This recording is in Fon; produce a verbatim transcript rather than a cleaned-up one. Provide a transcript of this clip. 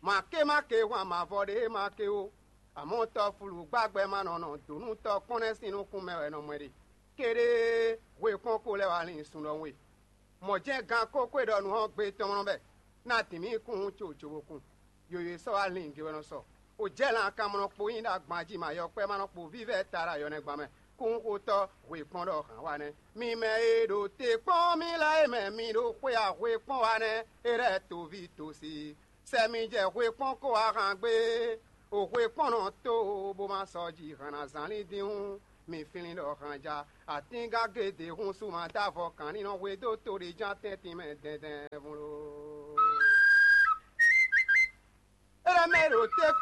Mǎkémáké hwan mavɔ ɖé e ma ké ó. Amɔ̌ tɔfulu gbágbɛ́ ma nɔ nɔ dǒnútɔ́ kpɔ́n nɛ́ sín nukún mɛ wɛ nɔ mɔ ɛ ɖe. Kéɖée hwe kpɔ́n ko lɛ́ wá lin sun ɖɔhun e. Mɔ̌ jɛ́n gan kókó e ɖɔ nǔ ɔ́ gbe tɔn nɔ bɛ ná dǐn mì kún co cobokun. Yoyo e sɔ́ wá lin ge wɛ nɔ sɔ. O jɛ lan kanmlɔ kpo nyi ɖo agban jí ma yɔkpɛ́ ma nɔ kpo vívɛ́ ta ɖo ayɔnɛgban mɛ. Kúnxotɔ́ hwe kpɔ́n ɖɔ hǎn wa nɛ́. Mi mɛ e ɖo te kpɔ́n mì lɛ́ɛ e mɛ mi ɖo xwé a hwe kpɔ́n wa nɛ́, é lɛ́ toví tosi. Sɛ mi jɛ hwe kpɔ́n kó wá han gbé. O hwe kpɔ́n nɔ tó bó ma sɔ́ ji hǎn ná zán lín dín hǔn. Mi flín ɖɔ hanja. Atíngán géde hun sú ma dó avɔ kǎn ní nɔ hwe dó to ɖé ján tɛ́ntin mɛ dɛndɛn vun lo. É lɛ́ mɛ ɖo te